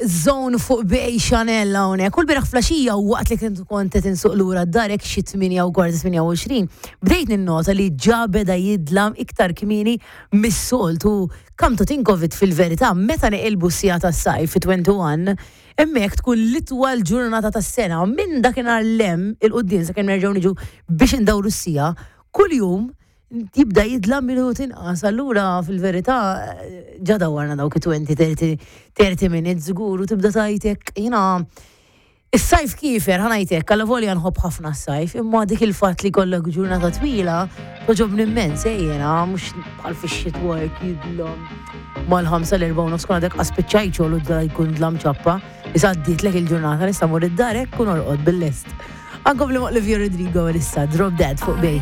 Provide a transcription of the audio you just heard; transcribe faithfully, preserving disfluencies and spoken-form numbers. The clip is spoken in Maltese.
Zone fuq Bay Chanel hawnhekk. Kull bieraħ filgħaxija u waqt li kont kont qed insuq lura d-dar hekk xi tmienja u kwarta, tmienja u għoxrin, bdejt ninnota li ġa beda jidlam iktar kmieni mis-soltu. Come to think of it, fil-verità, meta neqilbu s-siegħa tas-sajf fi wieħed u għoxrin, hemmhekk tkun l-itwal ġurnata tas-sena. Minn dakinhar 'l hemm 'il quddiem sakemm nerġgħu niġu biex indawru s-siegħa, kuljum jibda jidlam minut inqas. Allura fil-verità ġa dawwarna dawk għoxrin, thirty, thirty minutes żgur u tibda tajtek jiena is-sajf kiefer, ħa ngħidlek, għalla volja nħobb ħafna s-sajf, imma dik il-fatt li kollok ġurnata twila, togħġobni immens, eh, jiena, mhux bħal fix-xitwa jidlam mal-ħamsa, l-erbgħa u nofs kun għadek spiċċajt xogħol u da jkun dlam ċappa, issa għaddietlek il-ġurnata, nista' mur id-dar hekk kun orqod bil-lest. Ankom li Olivia Rodrigo issa, Drop Dead fuq Bay.